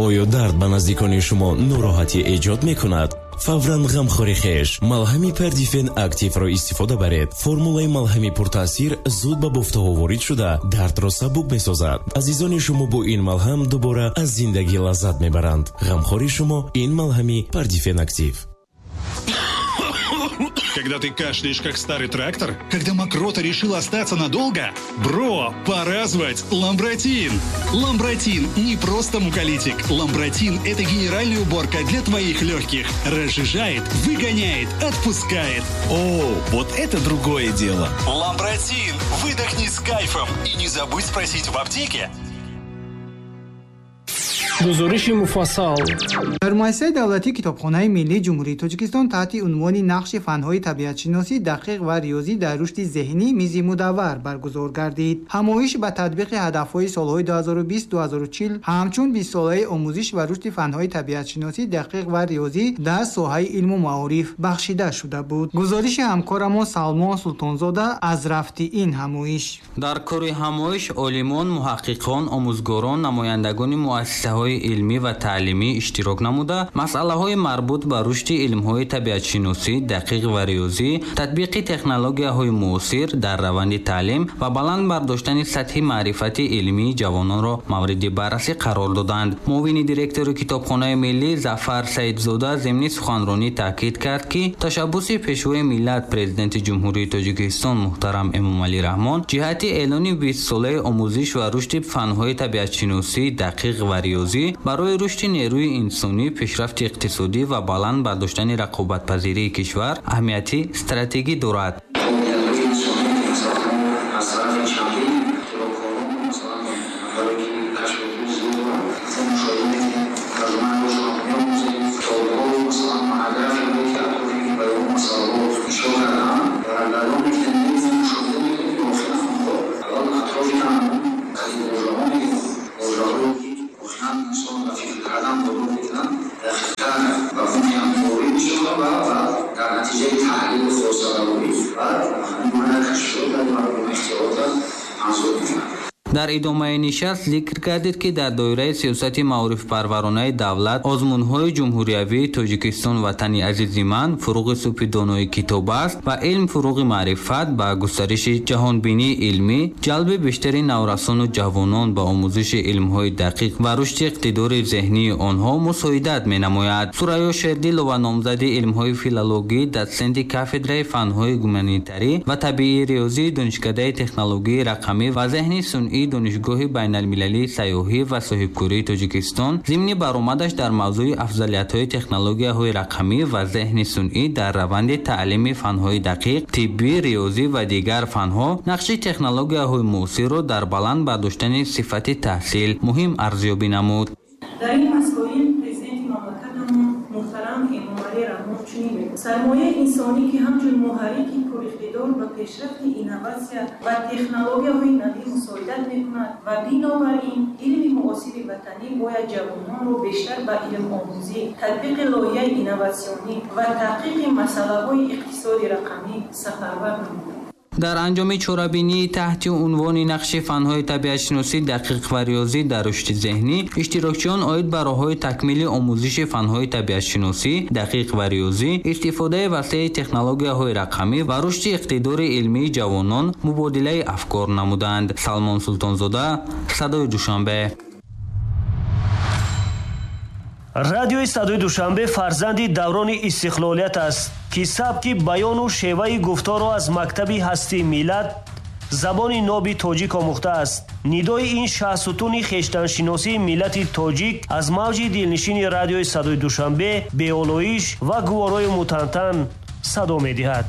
Оё дард ба наздикони шумо нороҳатӣ эҷод мекунад? Фавран ғамхори хеш малҳами Пердифен Активро истифода баред. Формулаи малҳами пуртаъсир зуд ба бофтаҳо ворид шуда, дардро сабук месозад. Азизони шумо бо ин малҳам дубора аз зиндагӣ лаззат мебаранд. Ғамхори шумо ин малҳами Пердифен Актив. Когда ты кашляешь, как старый трактор? Когда мокрота решила остаться надолго? Бро, пора звать Ламбратин! Ламбратин не просто муколитик. Ламбратин – это генеральная уборка для твоих легких. Разжижает, выгоняет, отпускает. О, вот это другое дело! Ламбратин! Выдохни с кайфом! И не забудь спросить в аптеке. Гузориши муфассал. Дар муассисаи давлатии Китобхонаи миллии Ҷумҳурии Тоҷикистон таҳти унвони «Нақши фанҳои табиатшиносӣ, дақиқ ва риёзӣ дар рушди зеҳнӣ» мизи мудаввар баргузор гардид. Ҳамоиш ба татбиқи ҳадафҳои солҳои 2020-2040 ҳамчун бистсолаи омӯзиш ва рушди фанҳои табиатшиносӣ, дақиқ ва риёзӣ дар соҳаи илму маориф бахшида шуда буд. Гузориши ҳамкорамон Салмон Султонзода аз рафти ин ҳамоиш. Дар кори ҳамоиш олимон, муҳаққиқон, омӯзгорон, намояндагони муассисаҳои илмӣ ва таълимӣ иштирок намуда, масъалаҳои марбут ба рушди илмҳои табиатшиносӣ, дақиқ ва риёзӣ, татбиқи технологияҳои муосир дар раванди таълим ва баланд бардоштани сатҳи маърифати илмии ҷавононро мавриди баррасӣ қарор доданд. Муовини директори Китобхонаи миллӣ Зафар Саидзода зимни суханронӣ таъкид кард, ки ташаббуси Пешвои миллат, Президенти Ҷумҳурии Тоҷикистон муҳтарам Эмомалӣ Раҳмон ҷиҳати эълони бистсолаи омӯзиш ва рушди фанҳои табиатшиносӣ, дақиқ ва риёзӣ барои рушди нерӯи инсонӣ, пешрафти иқтисодӣ ва баланд бардоштани рақобатпазирии кишвар аҳамияти стратегӣ дорад. Дар идомаи нишаст зикр гардид, ки дар доираи сиёсати маорифпарваронаи давлат озмунҳои ҷумҳуриявии «Тоҷикистон ватани азизи ман», «Фуруғи субҳи донои китоб аст» ва «Илм фуруғи маърифат» ба густариши ҷаҳонбинии илмӣ, ҷалби бештари наврасону ҷавонон ба омӯзиши илмҳои дақиқ ва рушди иқтидори зеҳнии онҳо мусоидат менамояд. Сурайё Шердилова, номзади илмҳои филологӣ, дотсенти кафедраи фанҳои гуманитарӣ ва табиии риёзии Донишкадаи технологияи рақамӣ ва зеҳни сунъии Донишгоҳи байналмилалии сайёҳӣ ва соҳибкории Тоҷикистон, зимни баромадаш дар мавзӯи афзалиятҳои технологияҳои рақамӣ ва зеҳни сунъӣ дар раванди таълими фанҳои дақиқ, тиббӣ, риёзӣ ва дигар фанҳо, нақши технологияҳои муосирро дар баланд бардоштани сифати таҳсил муҳим арзёбӣ намуд. Дар ин масоил Президенти мамлакатамон муҳтарам Эмомалӣ Раҳмон чунин мегӯяд: «Сармояи инсонӣ, ки ҳамчун муҳаррики пуриқтидор ба пешрафти инноватсия ва технологияҳои навӣ мусоидат мекунад ва бинобар ин илми муосири ватанӣ бояд ҷавононро бештар ба илмомӯзӣ, татбиқи лоиҳаи инноватсионӣ ва таҳқиқи масъалаҳои иқтисоди рақамӣ сафарбар намояд». Дар анҷоми чорабинии таҳти унвони «Нақши фанҳои табиатшиносӣ, дақиқ ва риёзӣ дар рушди зеҳнӣ» иштирокчиён оид ба роҳҳои такмили омӯзиши фанҳои табиатшиносӣ, дақиқ ва риёзӣ, истифодаи васеи технологияҳои рақамӣ ва рушди иқтидори илмии ҷавонон мубодилаи афкор намуданд. Салмон Султонзода, Садои Душанбе. Радиои Садои Душанбе фарзанди даврони истиқлолият аст, ки сабки баёну шеваи гуфторро аз мактаби ҳастии миллат, забони ноби тоҷик омӯхтааст. Нидои ин шаҳсутуни хештаншиносии миллати тоҷик аз мавҷи дилнишини Радиои Садои Душанбе беолоиш ва гуворои мутантан садо медиҳад.